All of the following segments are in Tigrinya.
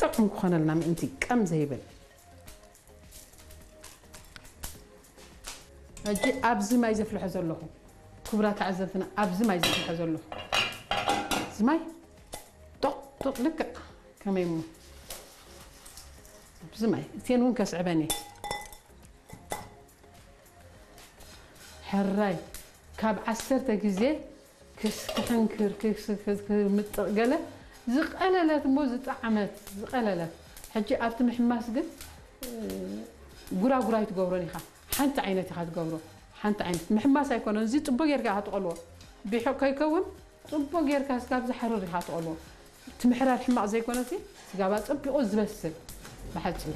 ጥዑም ክኾነልና ምእንቲ ቀም ዘይብል። ሕጂ ኣብዚ ማይ ዘፍልሖ ዘለኹ፣ ክቡራት ተዓዘብትና፣ ኣብዚ ማይ ዘፍልሖ ዘለኹ፣ እዚ ማይ ጦቕ ጦቕ ልክዕ ከመይ እሞ፣ ኣብዚ ማይ እቴን እውን ከስዕበን እየ። ሕራይ ካብ ዓሰርተ ግዜ ክስ ክሕንክር ክስ ክምጥቕ ገለ ዝቐለለት እሞ ዝጠዓመት ዝቐለለት። ሕጂ ኣብቲ ምሕማስ ግን ጉራጉራይ ትገብሮን ኢኻ። ሓንቲ ዓይነት ኢኻ ትገብሮ። ሓንቲ ዓይነት ምሕማስ ኣይኮነን። እዚ ጽቡቅ ጌርካ ኢኻ ትቐልዎ። ቢሑቕ ከይከውን ጽቡቅ ጌርካ ስጋብ ዝሓርር ኢኻ ትቐልዎ። እቲ ምሕራር ሕማቕ ዘይኮነሲ ስጋብ ኣጸቢቑ ዝበስል። ብሓጺሩ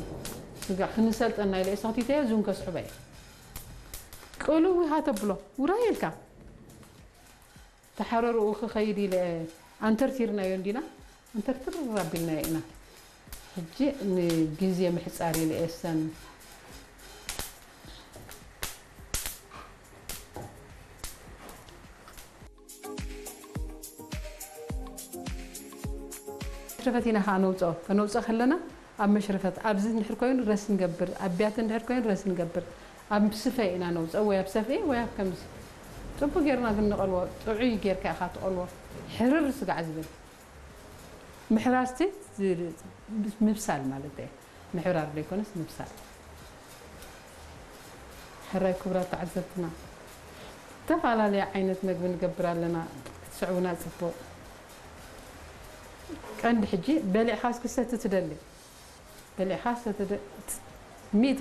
ስጋ ክንሰልጠና ኢለ እየ ሰኽቲተዮ፣ እዚውን ከስዕቦ እየ። ቅልው ኢኻ ተብሎ፣ ውራይ ኢልካ። ተሓረርኡ ክኸይድ ኢለ ኣንተርቲርናዮ እንዲና፣ ኣንተርትር ኣቢልናዮ ኢና። ሕጂ ንግዜ ምሕጻር ኢለ እየ ሰን መሽረፈት ኢና ከዓ ነውፅኦ። ከነውፅኦ ከለና ኣብ መሽረፈት፣ ኣብዚ እንድሕር ኮይኑ ረስ ንገብር፣ ኣብ ቢያቲ እንድሕር ኮይኑ ረስ ንገብር፣ ኣብ ስፈ ኢና ነውፅኦ፣ ወይ ኣብ ሰፍኢ ወይ ኣብ ከምዚ። ፅቡቅ ጌርና ግን ንቐልዎ፣ ጥዑይ ጌርካ ኢኻ ትቐልዎ። ሕርር ስጋዕ ዝብል ምሕራር እስቲ ዝ-፣ ምብሳል ማለት እዩ። ምሕራር ዘይኮነስ ምብሳል። ሕራይ ክቡራት ተዓዘብትና፣ ዝተፈላለየ ዓይነት መግቢ ንገብር ኣለና፣ ክትስዕቡና ጽቡቕ። ቀንዲ ሕጂ በሊዕኻስ ክሰቲ ትደሊ? በሊዕኻስ ሰቲ ደ-፣ ሚእቲ